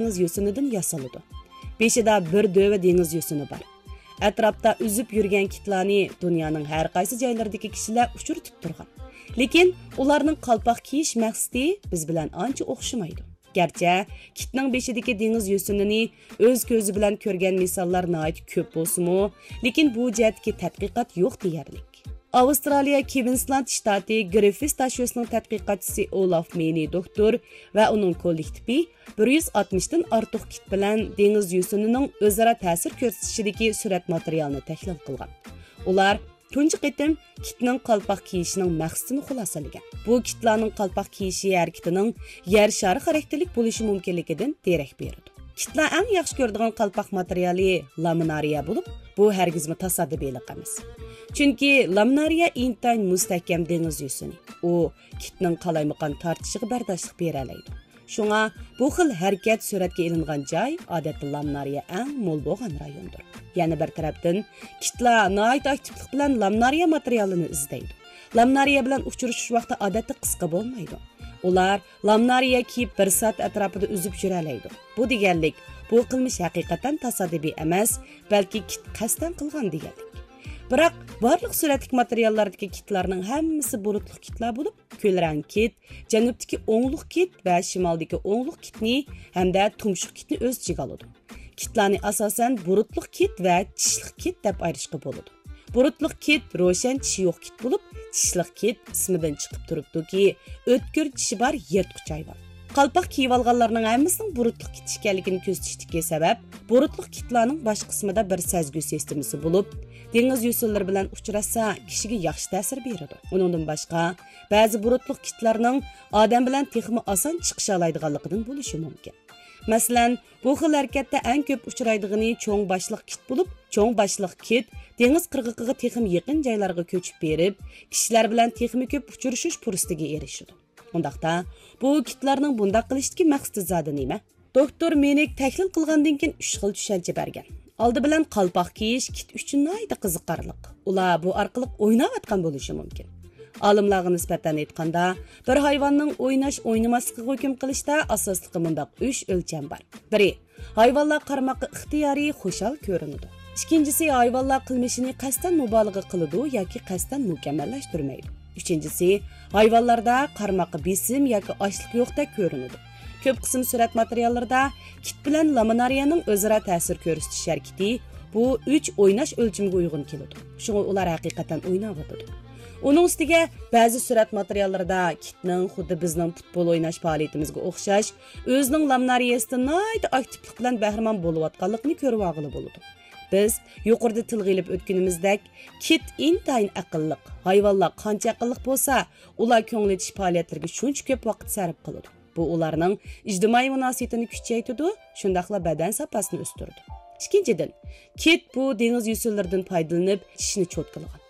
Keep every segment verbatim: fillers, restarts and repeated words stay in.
دېڭىز يوسۇنىدىن ياسىلىدۇ. بېشىدا بىر دۆۋە دېڭىز يوسۇنى بار. ئەتراپتا ئۈزۈپ يۈرگەن كىتلارنى دۇنيانىڭ ھەر قايسى جايلىرىدىكى كىشىلەر ئۇچرىتىپ تۇرغان. لېكىن ئۇلارنىڭ قالپاق كىيىش مەقسىتى بىز بىلەن ئانچە ئوخشىمايدۇ. گەرچە كىتنىڭ بېشىدىكى دېڭىز يوسۇنىنى ئۆز كۆزى بىلەن كۆرگەن مىساللار ناھايىتى كۆپ بولسىمۇ، لېكىن بۇ جەھەتتىكى تەتقىقات يوق دېيەرلىك. ئاۋسترالىيە كۋىنسلاند شتاتى گرىففىس تاشيۆسىنىڭ تەتقىقاتچىسى ئولاف مېنى دوكتور ۋە ئۇنىڭ كوللېكتىپى بىر يۈز ئاتمىشتىن ئارتۇق كىت بىلەن دېڭىز يوسۇنىنىڭ ئۆزئارا تەسىر كۆرسىتىشىدىكى سۈرەت ماتېرىيالىنى تەھلىل قىلغان. ئۇلار تۇنجى قېتىم كىتنىڭ قالپاق كىيىشىنىڭ مەقسىتىنى خۇلاسىلىگەن. بۇ كىتلارنىڭ قالپاق كىيىشى ھەرىكىتىنىڭ يەر شارى خاراكتېرلىك بولۇشى مۇمكىنلىكىدىن دېرەك بېرىدۇ. كىتلار ئەڭ ياخشى كۆرىدىغان قالپاق ماتېرىيالى لامىنارىيە بولۇپ، بۇ ھەرگىزمۇ تاسادىپىيلىق ئەمەس. چۈنكى لامىنارىيە ئىنتايىن مۇستەھكەم دېڭىز يوسۇنى. ئۇ كىتنىڭ قالايمىقان تارتىشىغا بەرداشلىق بېرەلەيدۇ. شۇڭا بۇ خىل ھەرىكەت سۈرەتكە ئېلىنغان جاي، ئادەتتە، لامنارىيە ئەڭ مول بولغان رايوندۇر. يەنە بىر تەرەپتىن، كىتلار ناھايىتى ئاكتىپلىق بىلەن لامنارىيە ماتېرىيالىنى ئىزدەيدۇ. لامنارىيە بىلەن ئۇچرىشىش ۋاقتى، ئادەتتە، قىسقا بولمايدۇ. ئۇلار لامنارىيە كىيىپ، بىر سائەت ئەتراپىدا ئۈزۈپ يۈرەلەيدۇ. بۇ دېگەنلىك، بۇ قىلمىش ھەقىقەتەن تاسادىپىي ئەمەس، بەلكى كىت قەستەن قىلغان دېگەنلىك. بىراق، بارلىق سۈرەتلىك ماتېرىياللاردىكى كىتلارنىڭ ھەممىسى بۇرۇتلۇق كىتلار بولۇپ، كۆلرەڭ كىت، جەنۇبتىكى ئوڭلۇق كىت ۋە شىمالدىكى ئوڭلۇق كىتنى ھەمدە تۇمشۇق كىتنى ئۆز ئىچىگە ئالىدۇ. كىتلارنى ئاساسەن بۇرۇتلۇق كىت ۋە چىشلىق كىت دەپ ئايرىشقا بولىدۇ. بۇرۇتلۇق كىت روشەن چىشى يوق كىت بولۇپ، چىشلىق كىت ئىسمىدىن چىقىپ تۇرۇپتۇكى، ئۆتكۈر چىشى بار يىرتقۇچ ھايۋان. قالپاق كىيىۋالغانلارنىڭ ھەممىسىنىڭ بۇرۇتلۇق كىت ئىكەنلىكىنى كۆرسىتىشتىكى سەۋەب، بۇرۇتلۇق كىتلارنىڭ باش قىسمىدا بىر سەزگۈ سىستېمىسى بولۇپ، دېڭىز يوسۇنلىرى بىلەن ئۇچراشسا، كىشىگە ياخشى تەسىر بېرىدۇ. ئۇنىڭدىن باشقا، بەزى بۇرۇتلۇق كىتلارنىڭ ئادەم بىلەن تېخىمۇ ئاسان چىقىشالايدىغانلىقىدىن بولۇشى مۇمكىن. مەسىلەن، بۇ خىل ھەرىكەتتە ئەڭ كۆپ ئۇچرايدىغىنى چوڭ باشلىق كىت بولۇپ، چوڭ باشلىق كىت دېڭىز قىرغىقىغا تېخىمۇ يېقىن جايلارغا كۆچۈپ بېرىپ، كىشىلەر بىلەن تېخىمۇ كۆپ ئۇچرىشىش پۇرسىتىگە ئېرىشىدۇ. ئۇنداقتا، بۇ كىتلارنىڭ بۇنداق قىلىشتىكى مەقسىتى زادى نېمە؟ دوكتور مېنىك تەھلىل قىلغاندىن كېيىن ئۈچ خىل چۈشەنچە بەرگەن. ئالدى بىلەن، قالپاق كىيىش كىت ئۈچۈن ناھايىتى قىزىقارلىق. ئۇلار بۇ ئارقىلىق ئويناۋاتقان بولۇشى مۇمكىن. ئالىملارغا نىسبەتەن ئېيتقاندا، بىر ھايۋاننىڭ ئويناش، ئوينىماسلىقىغا ھۆكۈم قىلىشتا ئاساسلىقى مۇنداق ئۈچ ئۆلچەم بار. بىرى، ھايۋانلار قارىماققا ئىختىيارىي، خۇشال كۆرۈنىدۇ. ئىككىنچىسى، ھايۋانلار قىلمىشىنى قەستەن مۇبالىغە قىلىدۇ ياكى قەستەن مۇكەممەللەشتۈرمەيدۇ. ئۈچىنچىسى، ھايۋانلاردا قارىماققا بېسىم ياكى ئاچلىق يوقتەك كۆرۈنىدۇ. كۆپ قىسىم سۈرەت ماتېرىياللىرىدا كىت بىلەن لامنارىيەنىڭ ئۆزئارا تەسىر كۆرسىتىش ھەرىكىتى بۇ ئۈچ ئويناش ئۆلچىمىگە ئۇيغۇن كېلىدۇ. شۇڭا ئۇلار ھەقىقەتەن ئويناۋاتىدۇ. ئۇنىڭ ئۈستىگە، بەزى سۈرەت ماتېرىياللىرىدا كىتنىڭ خۇددى بىزنىڭ پۇتبول ئويناش پائالىيىتىمىزگە ئوخشاش، ئۆزىنىڭ لامنارىيەسىدىن ناھايىتى ئاكتىپلىق بىلەن بەھرىمەن بولۇۋاتقانلىقىنى كۆرۈۋالغىلى بولىدۇ. بىز يۇقىرىدا تىلغا ئېلىپ ئۆتكىنىمىزدەك، كىت ئىنتايىن ئەقىللىق. ھايۋانلار قانچە ئەقىللىق بولسا، ئۇلار كۆڭۈل ئېچىش پائالىيەتلىرىگە شۇنچە كۆپ ۋاقىت سەرپ قىلىدۇ. بۇ ئۇلارنىڭ ئىجتىمائىي مۇناسىۋىتىنى كۈچەيتىدۇ، شۇنداقلا بەدەن ساپاسىنى ئۆستۈرىدۇ. ئىككىنچىدىن، كىت بۇ دېڭىز يۈسۈنلىرىدىن پايدىلىنىپ، چىشىنى چوتكىلىغان.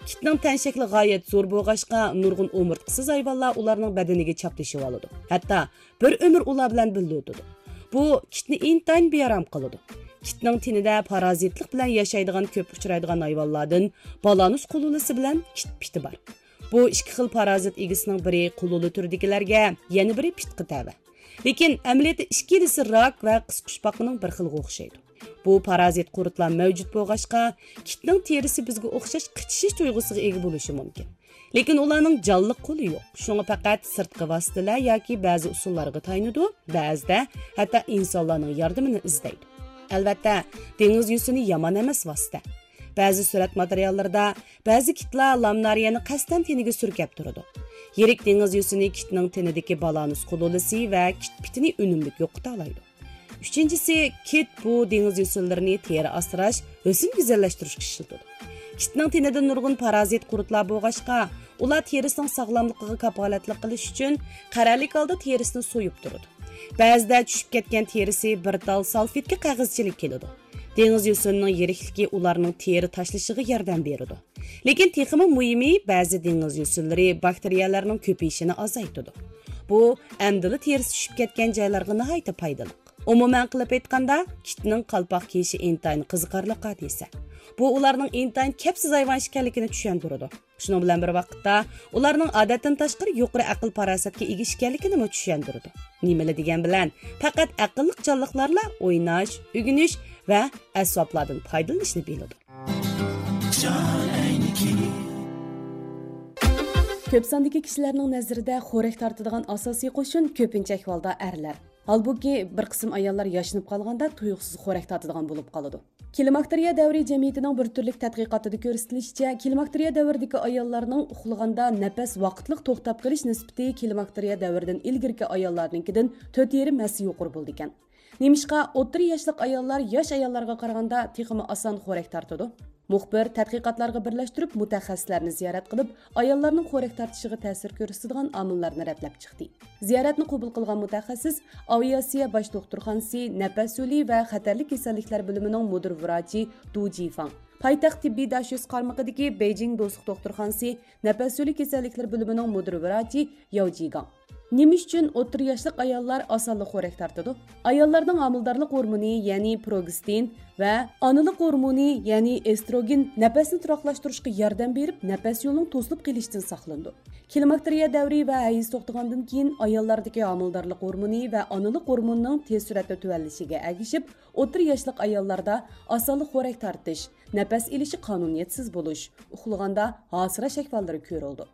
كىتنىڭ تەن شەكلى غايەت زور بولغاچقا، نۇرغۇن ئومۇرتقىسىز ھايۋانلار ئۇلارنىڭ بەدىنىگە چاپلىشىۋالىدۇ. ھەتتا بىر ئۆمۈر ئۇلار بىلەن بىللە ئۆتىدۇ. بۇ كىتنى ئىنتايىن بىئارام قىلىدۇ. كىتنىڭ تېنىدە پارازىتلىق بىلەن ياشايدىغان كۆپ ئۇچرايدىغان ھايۋانلاردىن بالانۇس قۇلۇلىسى بىلەن كىت پىتى بار. بۇ ئىككى خىل پارازىت ئىگىسىنىڭ بىرى قۇلۇلە تۈرىدىكىلەرگە، يەنە بىرى پىتقا تەۋە. لېكىن ئەمەلىيەتتە ئىككىلىسى راك ۋە قىسقۇچپاقىنىڭ بىر خىلىغا ئوخشايدۇ. بۇ پارازىت قۇرتلار مەۋجۇت بولغاچقا، كىتنىڭ تېرىسى بىزگە ئوخشاش قىچىشىش تۇيغۇسىغا ئىگە بولۇشى مۇمكىن. لېكىن ئۇلارنىڭ جانلىق قولى يوق. شۇڭا پەقەت سىرتقى ۋاسىتىلەر ياكى بەزى ئۇسۇللارغا تايىنىدۇ، بەزىدە ھەتتا ئىنسانلارنىڭ ياردىمىنى ئىزدەيدۇ. ئەلۋەتتە، دېڭىز يۈسۈنى يامان ئەمەس ۋاسىتە. بەزى سۈرەت ماتېرىياللىرىدا بەزى كىتلار لامنارىيەنى قەستەن تېنىگە سۈركەپ تۇرىدۇ. يىرىك دېڭىز يۈسۈنى كىتنىڭ تېنىدىكى بالانۇس قۇلۇلىسى ۋە كىت پىتىنى ئۈنۈملۈك يوقىتالايدۇ. ئۈچىنچىسى، كىت بۇ دېڭىز يۈسۈنلىرىنى تېرە ئاسراش، ھۆسن گۈزەللەشتۈرۈشكە ئىشلىتىدۇ. كىتنىڭ تېنىدە نۇرغۇن پارازىت قۇرتلار بولغاچقا، ئۇلار تېرىسىنىڭ ساغلاملىقىغا كاپالەتلىك قىلىش ئۈچۈن قەرەللىك ھالدا تېرىسىنى سويۇپ تۇرىدۇ. بەزىدە چۈشۈپ كەتكەن تېرىسى بىر تال سالفېتكە قەغەزچىلىك كېلىدۇ. دېڭىز يۈسۈنىنىڭ يىرىكلىكى ئۇلارنىڭ تېرە تاشلىشىغا ياردەم بېرىدۇ. لېكىن تېخىمۇ مۇھىمى، بەزى دېڭىز يۈسۈنلىرى باكتېرىيەلەرنىڭ كۆپىيىشىنى ئازايتىدۇ. بۇ ئەمدىلا تېرىسى چۈشۈپ كەتكەن جايلارغا ناھايىتى پايدىلىق. ئومۇمەن قىلىپ ئېيتقاندا، كىتنىڭ قالپاق كىيىشى ئىنتايىن قىزىقارلىق ھادىسە. بۇ ئۇلارنىڭ ئىنتايىن كەپسىز ھايۋان ئىكەنلىكىنى چۈشەندۈرىدۇ. شۇنىڭ بىلەن بىر ۋاقىتتا، ئۇلارنىڭ ئادەتتىن تاشقىرى يۇقىرى ئەقىل پاراسەتكە ئىگە ئىكەنلىكىنىمۇ چۈشەندۈرىدۇ. نېمىلا دېگەن بىلەن، پەقەت ئەقىللىق جانلىقلارلا ئويناش، ئۆگىنىش ۋە ئەسۋابلاردىن پايدىلىنىشنى بىلىدۇ. كۆپ ساندىكى كىشىلەرنىڭ نەزىرىدە خورەك تارتىدىغان ئاساسىي قوشۇن كۆپىنچە ئەھۋالدا ئەرلەر. ھالبۇكى، بىر قىسىم ئاياللار ياشىنىپ قالغاندا تۇيۇقسىز خورەك تارتىدىغان بولۇپ قالىدۇ. كلىماكتېرىيە دەۋرى جەمئىيىتىنىڭ بىر تۈرلۈك تەتقىقاتىدا كۆرسىتىلىشىچە، كلىماكتېرىيە دەۋرىدىكى ئاياللارنىڭ ئۇخلىغاندا نەپەس ۋاقىتلىق توختاپ قېلىش نىسبىتى كلىماكتېرىيە دەۋرىدىن ئىلگىرىكى ئاياللارنىڭكىدىن تۆت يېرىم ھەسسە يۇقىرى بولىدىكەن. نېمىشقا ئوتتۇرا ياشلىق ئاياللار ياش ئاياللارغا قارىغاندا تېخىمۇ ئاسان خورەك تارتىدۇ؟ مۇخبىر تەتقىقاتلارغا بىرلەشتۈرۈپ مۇتەخەسسىسلەرنى زىيارەت قىلىپ، ئاياللارنىڭ خورەك تارتىشىغا تەسىر كۆرسىتىدىغان ئامىللارنى رەتلەپ چىقتى. زىيارەتنى قوبۇل قىلغان مۇتەخەسسىس ئاۋىئاتسىيە باش دوختۇرخانىسى نەپەس يولى ۋە خەتەرلىك كېسەللىكلەر بۆلۈمىنىڭ مۇدىر ۋراچى دۇ جىفاڭ، پايتەخت تېببىي داشۆس قارمىقىدىكى بېيجىڭ دوستلۇق دوختۇرخانىسى نەپەس يولى كېسەللىكلىرى بۆلۈمىنىڭ مۇدىر ۋراچى ياۋ جىگاڭ. نېمە ئۈچۈن ئوتتۇرا ياشلىق ئاياللار ئاسانلا خورەك تارتىدۇ؟ ئاياللارنىڭ ھامىلىدارلىق ھورمونى، يەنى پروگېستىن ۋە ئانىلىق ھورمونى، يەنى ئېستروگېن نەپەسنى تۇراقلاشتۇرۇشقا ياردەم بېرىپ، نەپەس يولىنىڭ توسۇلۇپ قېلىشىدىن ساقلىنىدۇ. كلىماكتېرىيە دەۋرى ۋە ھەيز توختىغاندىن كېيىن ئاياللاردىكى ھامىلىدارلىق ھورمونى ۋە ئانىلىق ھورمونىنىڭ تېز سۈرئەتتە تۆۋەنلىشىگە ئەگىشىپ، ئوتتۇرا ياشلىق ئاياللاردا ئاسانلا خورەك تارتىش، نەپەس ئېلىشى قانۇنىيەتسىز بولۇش، ئۇخلىغاندا ھاسىراش ئەھۋاللىرى كۆرۈلىدۇ.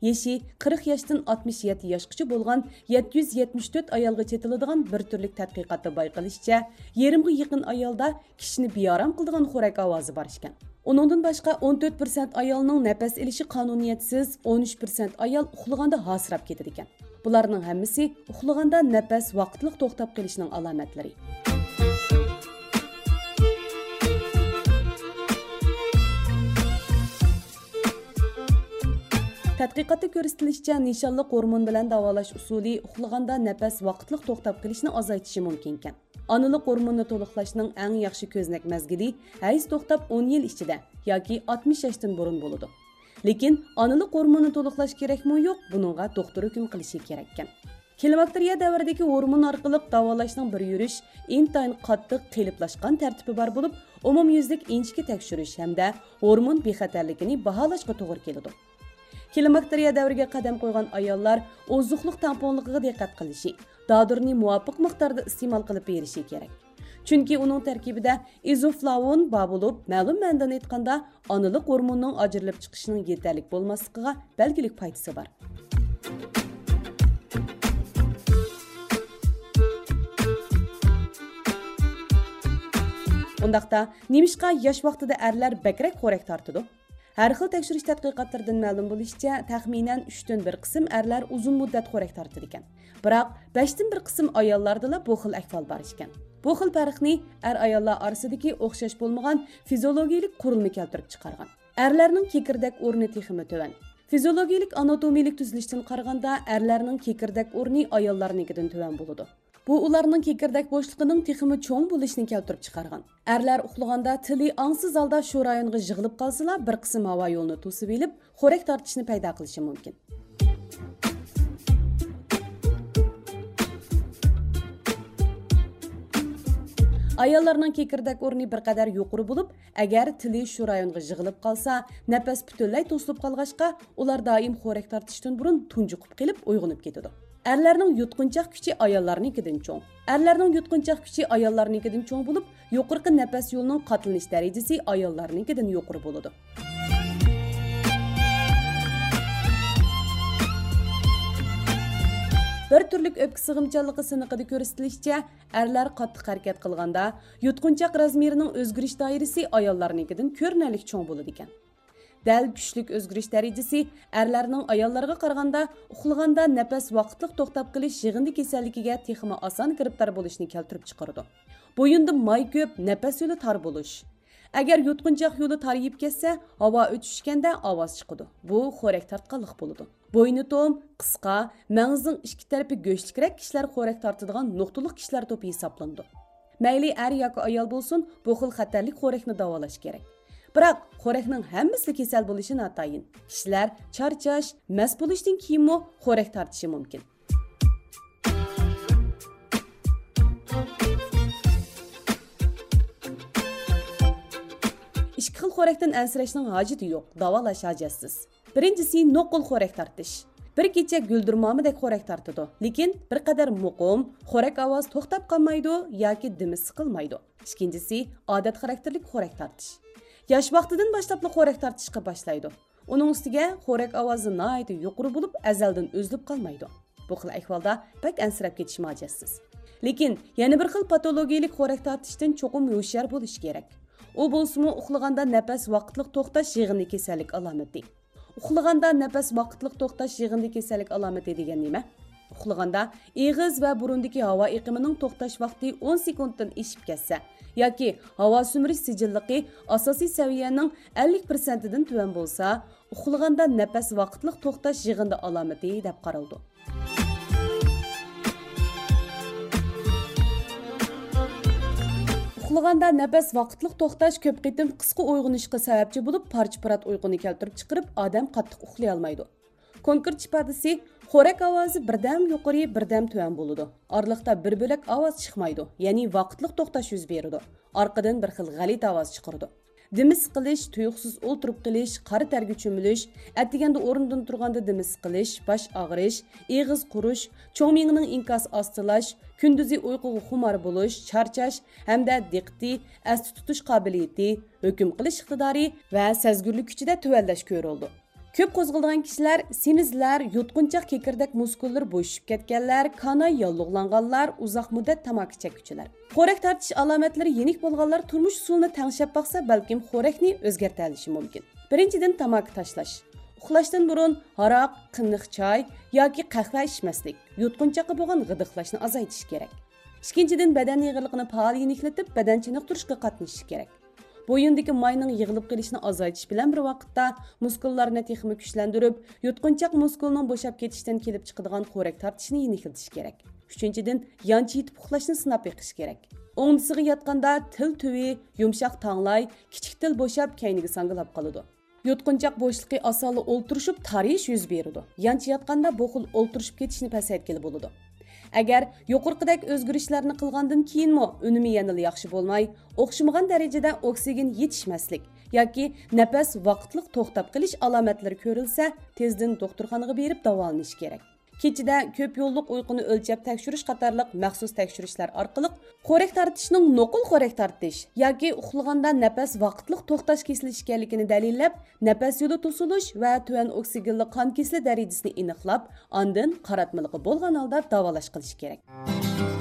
يېشى قىرىق ياشتىن ئاتمىش يەتتە ياشقىچە بولغان يەتتە يۈز يەتمىش تۆت ئايالغا چېتىلىدىغان بىر تۈرلۈك تەتقىقاتتا بايقىلىشىچە، يېرىمغا يېقىن ئايالدا كىشىنى بىئارام قىلىدىغان خورەك ئاۋازى بار ئىكەن. ئۇنىڭدىن باشقا، ئون تۆت پىرسەنت ئايالنىڭ نەپەس ئېلىشى قانۇنىيەتسىز، ئون ئۈچ پىرسەنت ئايال ئۇخلىغاندا ھاسىراپ كېتىدىكەن. بۇلارنىڭ ھەممىسى ئۇخلىغاندا نەپەس ۋاقىتلىق توختاپ قېلىشنىڭ ئالامەتلىرى. تەتقىقاتتا كۆرسىتىلىشىچە، نىشانلىق ھورمون بىلەن داۋالاش ئۇسۇلى ئۇخلىغاندا نەپەس ۋاقىتلىق توختاپ قېلىشنى ئازايتىشى مۇمكىنكەن. ئانىلىق ھورموننى تولۇقلاشنىڭ ئەڭ ياخشى كۆزنەك مەزگىلى ھەيز توختاپ ئون يىل ئىچىدە ياكى ئاتمىش ياشتىن بۇرۇن بولىدۇ. لېكىن ئانىلىق ھورموننى تولۇقلاش كېرەكمۇ يوق، بۇنىڭغا دوختۇر ھۆكۈم قىلىشى كېرەككەن. كلىماكتېرىيە دەۋرىدىكى ھورمون ئارقىلىق داۋالاشنىڭ بىر يۈرۈش ئىنتايىن قاتتىق قېلىپلاشقان تەرتىپى بار بولۇپ، ئومۇميۈزلۈك ئىنچىكە تەكشۈرۈش ھەمدە ھورمون بىخەتەرلىكىنى باھالاشقا توغرا كېلىدۇ. كلىماكتېرىيە دەۋرىگە قەدەم قويغان ئاياللار ئوزۇقلۇق تەڭپۇڭلۇقىغا دىققەت قىلىشى، دادۇرنى مۇۋاپىق مىقداردا ئىستېمال قىلىپ بېرىشى كېرەك. چۈنكى ئۇنىڭ تەركىبىدە ئىزوفلاۋون بار بولۇپ، مەلۇم مەنىدىن ئېيتقاندا، ئانىلىق ھورموننىڭ ئاجرىلىپ چىقىشىنىڭ يېتەرلىك بولماسلىقىغا بەلگىلىك پايدىسى بار. ئۇنداقتا، نېمىشقا ياش ۋاقتىدا ئەرلەر بەكرەك خورەك تارتىدۇ؟ ھەر خىل تەكشۈرۈش تەتقىقاتلىرىدىن مەلۇم بولۇشىچە، تەخمىنەن ئۈچتىن بىر قىسىم ئەرلەر ئۇزۇن مۇددەت خورەك تارتىدىكەن. بىراق، بەشتىن بىر قىسىم ئاياللاردىلا بۇ خىل ئەھۋال بار ئىكەن. بۇ خىل پەرقنى ئەر-ئاياللار ئارىسىدىكى ئوخشاش بولمىغان فىزىئولوگىيىلىك قۇرۇلما كەلتۈرۈپ چىقارغان. ئەرلەرنىڭ كېكىردەك ئورنى تېخىمۇ تۆۋەن. فىزىئولوگىيىلىك ئاناتومىيىلىك تۈزۈلۈشتىن قارىغاندا، ئەرلەرنىڭ كېكىردەك ئورنى ئاياللارنىڭكىدىن تۆۋەن بولىدۇ. بۇ ئۇلارنىڭ كېكىردەك بوشلۇقىنىڭ تېخىمۇ چوڭ بولۇشىنى كەلتۈرۈپ چىقارغان. ئەرلەر ئۇخلىغاندا تىلى ئاڭسىز ھالدا شۇ رايونغا يىغىلىپ قالسىلا، بىر قىسىم ھاۋا يولىنى توسۇۋېلىپ، خورەك تارتىشنى پەيدا قىلىشى مۇمكىن. ئاياللارنىڭ كېكىردەك ئورنى بىر قەدەر يۇقىرى بولۇپ، ئەگەر تىلى شۇ رايونغا يىغىلىپ قالسا، نەپەس پۈتۈنلەي توسۇلۇپ قالغاچقا، ئۇلار دائىم خورەك تارتىشتىن بۇرۇن تۇنجۇقۇپ قېلىپ ئويغىنىپ كېتىدۇ. ئەرلەرنىڭ يۇتقۇنچاق كۈچى ئاياللارنىڭكىدىن چوڭ. ئەرلەرنىڭ يۇتقۇنچاق كۈچى ئاياللارنىڭكىدىن چوڭ بولۇپ، يۇقىرىقى نەپەس يولىنىڭ قاتلىنىش دەرىجىسى ئاياللارنىڭكىدىن يۇقىرى بولىدۇ. بىر تۈرلۈك ئۆپكە سىغىمچانلىقى سىنىقىدا كۆرسىتىلىشىچە، ئەرلەر قاتتىق ھەرىكەت قىلغاندا، يۇتقۇنچاق رازمېرىنىڭ ئۆزگىرىش دائىرىسى ئاياللارنىڭكىدىن كۆرۈنەرلىك چوڭ بولىدىكەن. دەل كۈچلۈك ئۆزگىرىش دەرىجىسى ئەرلەرنىڭ ئاياللارغا قارىغاندا ئۇخلىغاندا نەپەس ۋاقىتلىق توختاپ قېلىش يىغىندى كېسەللىكىگە تېخىمۇ ئاسان گىرىپتار بولۇشنى كەلتۈرۈپ چىقىرىدۇ. بويۇندا ماي كۆپ، نەپەس يولى تار بولۇش. ئەگەر يۇتقۇنچاق يولى تارىيىپ كەتسە، ھاۋا ئۆتۈشكەندە ئاۋاز چىقىدۇ. بۇ خورەك تارتقانلىق بولىدۇ. بوينى توم، قىسقا، مەڭزىنىڭ ئىككى تەرىپى گۆشلۈكرەك كىشىلەر خورەك تارتىدىغان نۇقتىلىق كىشىلەر توپى ھېسابلىنىدۇ. مەيلى ئەر ياكى ئايال بولسۇن، بۇ خىل خەتەرلىك خورەكنى داۋالاش كېرەك. بىراق، خورەكنىڭ ھەممىسىلا كېسەل بولۇشى ناتايىن. كىشىلەر چارچاش، مەست بولۇشتىن كېيىنمۇ خورەك تارتىشى مۇمكىن. ئىككى خىل خورەكتىن ئەنسىرەشنىڭ ھاجىتى يوق، داۋالاش ھاجەتسىز. بىرىنچىسى، نوقۇل خورەك تارتىش. بىر كېچە گۈلدۈرمامىدەك خورەك تارتىدۇ، لېكىن بىر قەدەر مۇقىم، خورەك ئاۋازى توختاپ قالمايدۇ ياكى دېمى سىقىلمايدۇ. ئىككىنچىسى، ئادەت خاراكتېرلىك خورەك تارتىش. ياش ۋاقتىدىن باشلاپلا خورەك تارتىشقا باشلايدۇ. ئۇنىڭ ئۈستىگە خورەك ئاۋازى ناھايىتى يۇقىرى بولۇپ، ئەزەلدىن ئۈزۈلۈپ قالمايدۇ. بۇ خىل ئەھۋالدا بەك ئەنسىرەپ كېتىش ھاجەتسىز. لېكىن يەنە بىر خىل پاتولوگىيىلىك خورەك تارتىشتىن چوقۇم ھوشيار بولۇش كېرەك. ئۇ بولسىمۇ ئۇخلىغاندا نەپەس ۋاقىتلىق توختاش يىغىندى كېسەللىك ئالامىتى. ئۇخلىغاندا نەپەس ۋاقىتلىق توختاش يىغىندى كېسەللىك ئالامىتى دېگەن نېمە؟ ئۇخلىغاندا ئېغىز ۋە بۇرۇندىكى ھاۋا ئېقىمىنىڭ توختاش ۋاقتى ئون سېكۇنتتىن ئېشىپ كەتسە ياكى ھاۋا سۈمۈرۈش سىجىللىقى ئاساسىي سەۋىيەنىڭ ئەللىك پىرسەنتىدىن تۆۋەن بولسا، ئۇخلىغاندا نەپەس ۋاقىتلىق توختاش يىغىندى ئالامىتى دەپ قارىلىدۇ. ئۇخلىغاندا نەپەس ۋاقىتلىق توختاش كۆپ قېتىم قىسقا ئويغىنىشقا سەۋەبچى بولۇپ، پارچە-پۇرات ئۇيقۇنى كەلتۈرۈپ چىقىرىپ، ئادەم قاتتىق ئۇخلىيالمايدۇ. كونكرېت ئىپادىسى، خورەك ئاۋازى بىردەم يۇقىرى، بىردەم تۆۋەن بولىدۇ. ئارىلىقتا بىر بۆلەك ئاۋاز چىقمايدۇ، يەنى ۋاقىتلىق توختاش يۈز بېرىدۇ. ئارقىدىن بىر خىل غەلىتە ئاۋاز چىقىرىدۇ. دېمى سىقىلىش، تۇيۇقسىز ئولتۇرۇپ قېلىش، قارا تەرگە چۆمۈلۈش، ئەتىگەندە ئورنىدىن تۇرغاندا دېمى سىقىلىش، باش ئاغرىش، ئېغىز قۇرۇش، چوڭ مېڭىنىڭ ئىنكاسى ئاستىلاش، كۈندۈزى ئۇيقۇغا خۇمار بولۇش، چارچاش ھەمدە دىققىتى، ئەستە تۇتۇش قابىلىيىتى، ھۆكۈم قىلىش ئىقتىدارى ۋە سەزگۈرلۈك كۈچىدە تۆۋەنلەش كۆرۈلىدۇ. كۆپ قوزغىلىدىغان كىشىلەر، سېمىزلەر، يۇتقۇنچاق كېكىردەك مۇسكۇللىرى بوشىشىپ كەتكەنلەر، كاناي ياللۇغلانغانلار، ئۇزاق مۇددەت تاماكا چەككۈچىلەر. خورەك تارتىش ئالامەتلىرى يېنىك بولغانلار تۇرمۇش ئۇسۇلىنى تەڭشەپ باقسا، بەلكىم خورەكنى ئۆزگەرتەلىشى مۇمكىن. بىرىنچىدىن، تاماكا تاشلاش. ئۇخلاشتىن بۇرۇن ھاراق، قېنىق چاي ياكى قەھۋە ئىچمەسلىك، يۇتقۇنچاققا بولغان غىدىقلاشنى ئازايتىش كېرەك. ئىككىنچىدىن، بەدەن ئېغىرلىقىنى پائال يېنىكلىتىپ، بەدەن چېنىقتۇرۇشقا قاتنىشىش كېرەك. بويۇندىكى ماينىڭ يىغىلىپ قېلىشىنى ئازايتىش بىلەن بىر ۋاقىتتا، مۇسكۇللارنى تېخىمۇ كۈچلەندۈرۈپ، يۇتقۇنچاق مۇسكۇلنىڭ بوشاپ كېتىشتىن كېلىپ چىقىدىغان خورەك تارتىشىنى يېنىكلىتىش كېرەك. ئۈچىنچىدىن، يانچە يېتىپ ئۇخلاشنى سىناپ بېقىش كېرەك. ئوڭدىسىغا ياتقاندا تىل تۈۋى، يۇمشاق تاڭلاي، كىچىك تىل بوشاپ، كەينىگە ساڭگىلاپ قالىدۇ. يۇتقۇنچاق بوشلۇقى ئاسانلا ئولتۇرۇشۇپ تارىيىش يۈز بېرىدۇ. يانچە ياتقاندا بۇ خىل ئولتۇرۇشۇپ كېتىشنى پەسەيتكىلى بولىدۇ. ئەگەر يۇقىرىقىدەك ئۆزگىرىشلەرنى قىلغاندىن كېيىنمۇ ئۈنۈمى يەنىلا ياخشى بولماي، ئوخشىمىغان دەرىجىدە ئوكسىگېن يېتىشمەسلىك ياكى نەپەس ۋاقىتلىق توختاپ قېلىش ئالامەتلىرى كۆرۈلسە، تېزدىن دوختۇرخانىغا بېرىپ داۋالىنىش كېرەك. كېچىدە كۆپ يوللۇق ئۇيقۇنى ئۆلچەپ تەكشۈرۈش قاتارلىق مەخسۇس تەكشۈرۈشلەر ئارقىلىق خورەك تارتىشنىڭ نوقۇل خورەك تارتىش ياكى ئۇخلىغاندا نەپەس ۋاقىتلىق توختاش كېسىلى ئىكەنلىكىنى دەلىللەپ، نەپەس يولى توسۇلۇش ۋە تۆۋەن ئوكسىگېنلىق قان كېسىلى دەرىجىسىنى ئېنىقلاپ، ئاندىن قاراتمىلىقى بولغان ھالدا داۋالاش قىلىش كېرەك.